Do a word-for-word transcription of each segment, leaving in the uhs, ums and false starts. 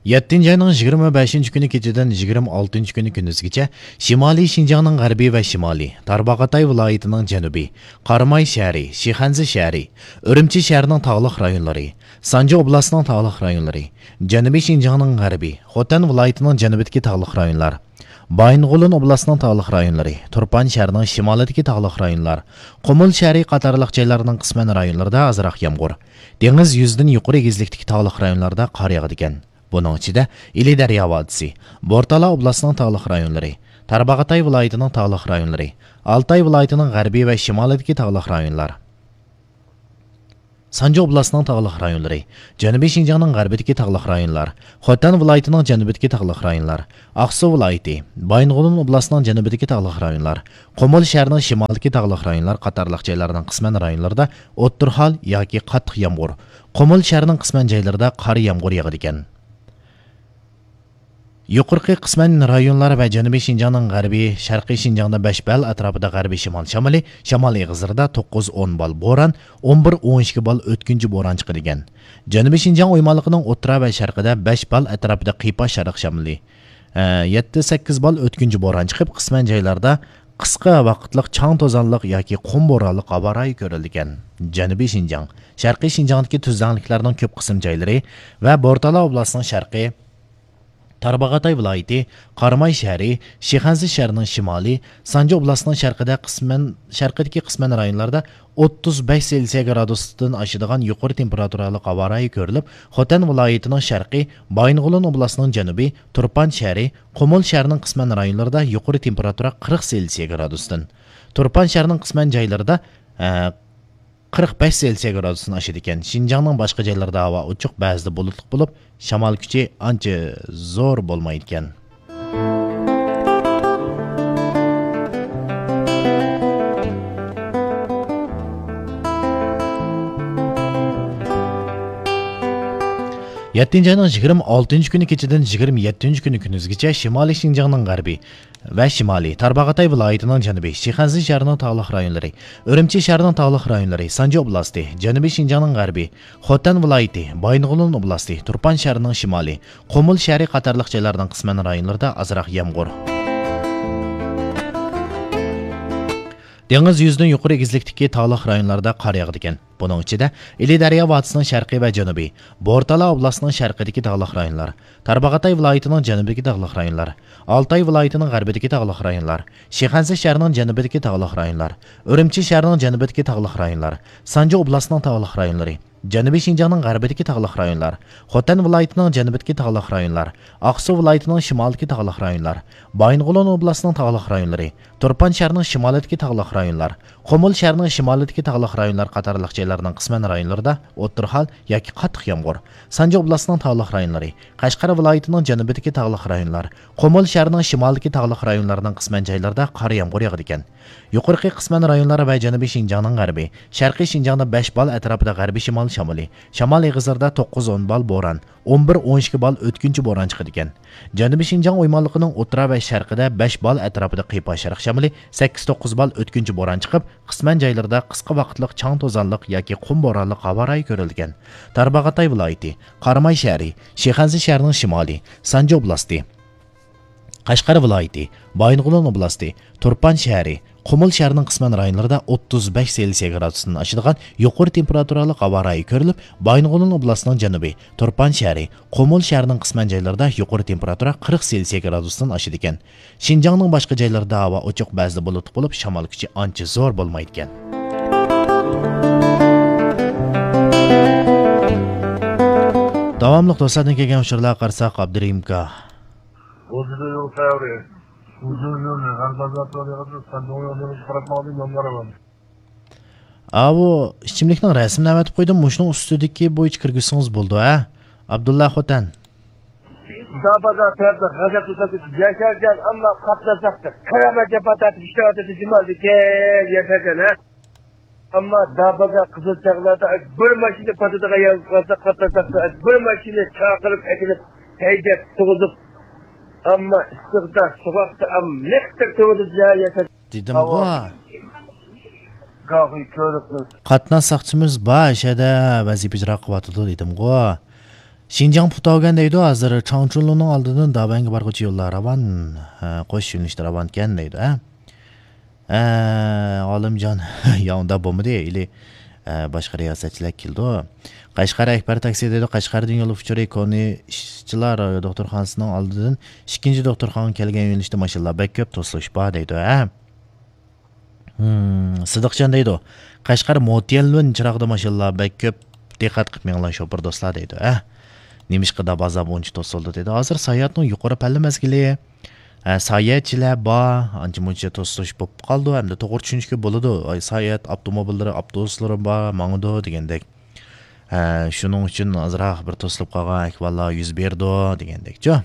يەتتىنچى ئاينىڭ يىگىرمە بەشىنچى كۈنى كېچىدىن يىگىرمە ئالتىنچى كۈنى كۈندۈزگىچە شىمالىي شىنجاڭنىڭ غەربىي ۋە شىمالى، تارباغاتاي ۋىلايىتىنىڭ جەنۇبى، قاراماي شەھىرى، شىخەنزە شەھىرى، ئۈرۈمچى شەھىرىنىڭ تاغلىق رايونلىرى، سانجى ئوبلاستىنىڭ تاغلىق رايونلىرى، جەنۇبىي شىنجاڭنىڭ غەربى، خوتەن ۋىلايىتىنىڭ جەنۇبىدىكى تاغلىق رايونلار، بايىنغولىن ئوبلاستىنىڭ تاغلىق رايونلىرى، تۇرپان شەھىرىنىڭ شىمالىدىكى تاغلىق رايونلار، قۇمۇل شەھىرى قاتارلىق جايلارنىڭ قىسمەن رايونلىرىدا ئازراق يامغۇر، دېڭىز يۈزىدىن يۇقىرى ئېگىزلىكتىكى تاغلىق رايونلاردا قار ياغىدىكەن. بۇنىڭ ئىچىدە ئىلى دەريا ۋادىسى، بورتالا ئوبلاستىنىڭ تاغلىق رايونلىرى، تارباغاتاي ۋىلايىتىنىڭ تاغلىق رايونلىرى، ئالتاي ۋىلايىتىنىڭ غەربىي ۋە شىمالىدىكى تاغلىق رايونلار، سانجى ئوبلاستىنىڭ تاغلىق رايونلىرى، جەنۇبىي شىنجاڭنىڭ غەربىدىكى تاغلىق رايونلار، خوتەن ۋىلايىتىنىڭ جەنۇبىدىكى تاغلىق رايونلار، ئاقسۇ ۋىلايىتى، بايىنغولىن ئوبلاستىنىڭ جەنۇبىدىكى تاغلىق رايونلار، قۇمۇل شەھىرىنىڭ شىمالىدىكى تاغلىق رايونلار قاتارلىق جايلارنىڭ قىسمەن رايونلىرىدا ئوتتۇرا ھال ياكى قاتتىق يامغۇر، قۇمۇل شەھىرىنىڭ قىسمەن جايلىرىدا قار يامغۇر ياغىدىكەن. يۇقىرىقى قىسمەن رايونلار ۋە جەنۇبىي شىنجاڭنىڭ غەربى، شەرقىي شىنجاڭدا بەش بال ئەتراپىدا غەربىي شىمال شامىلى، شامال ئېغىزلىرىدا توققۇز ئون بال بوران، ئون بىر ئون ئىككى بال ئۆتكۈنچى بوران چىقىدىكەن. جەنۇبىي شىنجاڭ ئويمانلىقىنىڭ ئوتتۇرا ۋە شەرقىدە بەش بال ئەتراپىدا قىيپاش شەرق شامىلى، ئە، يەتتە سەككىز بال ئۆتكۈنچى بوران چىقىپ، قىسمەن جايلاردا قىسقا ۋاقىتلىق چاڭ توزانلىق ياكى قۇم بورانلىق ھاۋا رايى كۆرۈلىدىكەن. جەنۇبىي شىنجاڭ، شەرقىي شىنجاڭدىكى تۈزلەڭلىكلەرنىڭ كۆپ قىسىم جايلىرى ۋە بورتالا ئوبلاستىنىڭ شەرقى، تارباغاتاي ۋىلايىتى، قاراماي شەھىرى، شىخەنزە شەھىرىنىڭ شىمالى، سانجى ئوبلاستىنىڭ شەرقىدە قىسمەن، شەرقىدىكى قىسمەن رايونلاردا ئوتتۇز بەش سېلسىيە گرادۇستىن ئاشىدىغان يۇقىرى تېمپېراتۇرالىق ھاۋا رايى كۆرۈلۈپ، خوتەن ۋىلايىتىنىڭ شەرقى، بايىنغولىن ئوبلاستىنىڭ جەنۇبى، تۇرپان شەھىرى، قۇمۇل شەھىرىنىڭ قىسمەن رايونلىرىدا يۇقىرى تېمپېراتۇرا قىرىق سېلسىيە گرادۇستىن، تۇرپان شەھىرىنىڭ قىسمەن جايلىرىدا، ئە، قىرىق بەش سېلسىيە گرادۇستىن ئاشىدىكەن. شىنجاڭنىڭ باشقا جايلىرىدا ھاۋا ئوچۇق، بەزىدە بۇلۇتلۇق بولۇپ، شامال كۈچى ئانچە زور بولمايدىكەن. يەتتىنچى ئاينىڭ يىگىرمە ئالتىنچى كۈنى كېچىدىن يىگىرمە يەتتىنچى كۈنى كۈندۈزگىچە شىمالىي شىنجاڭنىڭ غەربى، ۋە شىمالىي، تارباغاتاي ۋىلايىتىنىڭ جەنۇبى، شىخەنزە شەھىرىنىڭ تاغلىق رايونلىرى، ئۈرۈمچى شەھىرىنىڭ تاغلىق رايونلىرى، سانجى ئوبلاستى، جەنۇبىي شىنجاڭنىڭ غەربى، خوتەن ۋىلايىتى، بايىنغولىن ئوبلاستى، تۇرپان شەھىرىنىڭ شىمالى، قۇمۇل شەھىرى قاتارلىق جايلارنىڭ قىسمەن رايونلىرىدا ئازراق يامغۇر. دېڭىز يۈزىدىن يۇقىرى ئېگىزلىكتىكى تاغلىق رايونلاردا قار ياغىدىكەن. بۇنىڭ ئىچىدە ئىلى دەريا ۋادىسىنىڭ شەرقى ۋە جەنۇبى، بورتالا ئوبلاستىنىڭ شەرقىدىكى تاغلىق رايونلار، تارباغاتاي ۋىلايىتىنىڭ جەنۇبىدىكى تاغلىق رايونلار، ئالتاي ۋىلايىتىنىڭ غەربىدىكى تاغلىق رايونلار، شىخەنزە شەھىرىنىڭ جەنۇبىدىكى تاغلىق رايونلار، ئۈرۈمچى شەھىرىنىڭ جەنۇبىدىكى تاغلىق رايونلار، سانجى ئوبلاستىنىڭ تاغلىق رايونلىرى، جەنۇبىي شىنجاڭنىڭ غەربىدىكى تاغلىق رايونلار، خوتەن ۋىلايىتىنىڭ جەنۇبىدىكى تاغلىق رايونلار، ئاقسۇ ۋىلايىتىنىڭ شىمالىدىكى تاغلىق رايونلار، بايىنغولىن ئوبلاستىنىڭ تاغلىق رايونلىرى، تۇرپان شەھىرىنىڭ شىمالىدىكى تاغلىق رايونلار، قۇمۇل شەھىرىنىڭ شىمالىدىكى تاغلىق رايونلار قاتارلىق جايلارنىڭ قىسمەن رايونلىرىدا ئوتتۇرا ھال ياكى قاتتىق يامغۇر، سانجى ئوبلاستىنىڭ تاغلىق رايونلىرى، قەشقەر ۋىلايىتىنىڭ جەنۇبىدىكى تاغلىق رايونلار، قۇمۇل شەھىرىنىڭ شىمالىدىكى تاغلىق رايونلارنىڭ قىسمەن جايلىرىدا قار يامغۇر ياغىدىكەن. يۇقىرىقى قىسمەن رايونلار ۋە جەنۇبىي شىنجاڭنىڭ غەربى، شەرقىي شىنجاڭدا بەش بال ئەتراپىدا غەربىي شىمال شامىلى، شامال ئېغىزلىرىدا توققۇز ئون بال بوران، ئون بىر ئون ئىككى بال ئۆتكۈنچى بوران چىقىدىكەن. جەنۇبىي شىنجاڭ ئويمانلىقىنىڭ ئوتتۇرا ۋە شەرقىدە بەش بال ئەتراپىدا قىيپاش شەرق شامىلى، سەككىز توققۇز بال ئۆتكۈنچى بوران چىقىپ، قىسمەن جايلىرىدا قىسقا ۋاقىتلىق چاڭ توزانلىق ياكى قۇم بورانلىق ھاۋا رايى كۆرۈلىدىكەن. تارباغاتاي ۋىلايىتى، قاراماي شەھىرى، شىخەنزە شەھىرىنىڭ شىمالى، سانجى ئوبلاستى، قەشقەر ۋىلايىتى، بايىنغولىن ئوبلاستى، تۇرپان شەھىرى، قۇمۇل شەھىرىنىڭ قىسمەن رايونلىرىدا ئوتتۇز بەش سېلسىيە گرادۇستىن ئاشىدىغان يۇقىرى تېمپېراتۇرالىق ھاۋا رايى كۆرۈلۈپ، بايىنغولىن ئوبلاستىنىڭ جەنۇبى، تۇرپان شەھىرى، قۇمۇل شەھىرىنىڭ قىسمەن جايلىرىدا يۇقىرى تېمپېراتۇرا قىرىق سېلسىيە گرادۇستىن ئاشىدىكەن. شىنجاڭنىڭ باشقا جايلىرىدا ھاۋا ئوچۇق، بەزىدە بۇلۇتلۇق بولۇپ، شامال كۈچى ئانچە زور بولمايدىكەن. داۋاملىق دوستلاردىن كەلگەن ئۇچۇرلارغا قارىساق، ئابدۇرېھىم ئاكا. ئاۋۇ ئىچىملىكنىڭ رەسىمىنى ئەۋەتىپ قويدۇم، مۇشۇنىڭ ئۈستىدىكى بويىچە كىرگۈزسىڭىز بولىدۇ، ھە؟ ئابدۇللا خوتەن. دابادا تەرەپتە غەزەپ تۇتۇپ ياشاركەن، ئەمما قاتناشلىقتا قەرەبە جاپا تارتىپ ئىشلەۋاتىدۇ جۇمادىكى ياشاركەن، ھە؟ ئەمما دابادا قىزىل چاغلاردا بىر ماشىنا پاتىدىغان يەرگە قالسا، قاتناشلىقتا بىر ماشىنا چاقىرىپ ئەكېلىپ ھەيدەپ تۇغۇزۇپ، ئەمما ئىسسىقتا، سوغۇقتا، ئەم، لىقتەك تۇرىدۇ ياشاركەن. دېدىمغۇ. گاھى كۆرۈپ. قاتناش ساقچىمىز بار، شەدە ۋەزىپە ئىجرا قىلىۋاتىدۇ دېدىمغۇ. شىنجاڭ پۇتاۋگەن دەيدۇ، ھازىر چاڭچۇنلۇنىڭ ئالدىدىن دابەنگە بارغۇچە يوللار راۋان، ھە، قوش يۆنىلىشتە راۋانكەن دەيدۇ، ھە. ھە، ئالىمجان، يا ئۇنداق بولمىدى، ئىلى، ھە، باشقا رىياسەتچىلەر كېلىدۇ. قەشقەر ئەكبەر تاكسى دەيدۇ، قەشقەردىن يول ئۇچۇرى كونى ئىشچىلار دوختۇرخانىسىنىڭ ئالدىدىن ئىككىنچى دوختۇرخانىغا كەلگەن يۆنىلىشتە ماشىنىلار بەك كۆپ، توسۇلۇش بار دەيدۇ، ھە. ھىم، سىدىقجان دەيدۇ، قەشقەر موتيەنلۈن چىراغدا ماشىنىلار بەك كۆپ، دىققەت قىلىپ مېڭىڭلار شوپۇر دوستلار دەيدۇ، ھە. نېمىشقا داب ئازاب ئۇنچە توسۇلدى دەيدۇ. ھازىر ساياھەتنىڭ يۇقىرى پەللە مەزگىلى، ھە، ساياھەتچىلەر بار، ئانچە مۇنچە توسۇلۇش بولۇپ قالىدۇ، ھەمدە توغرا چۈشىنىشكە بولىدۇ. ئاي، ساياھەت ئاپتوموبىللىرى، ئاپتوبۇسلىرى بار، ماڭىدۇ دېگەندەك. ھە، شۇنىڭ ئۈچۈن ئازراق بىر توسۇلۇپ قالغان ئەھۋاللار يۈز بېرىدۇ دېگەندەكچۇ.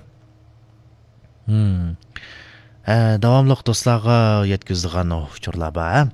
ھىم. ھە، داۋاملىق دوستلارغا يەتكۈزىدىغان ئۇچۇرلار بار، ھە.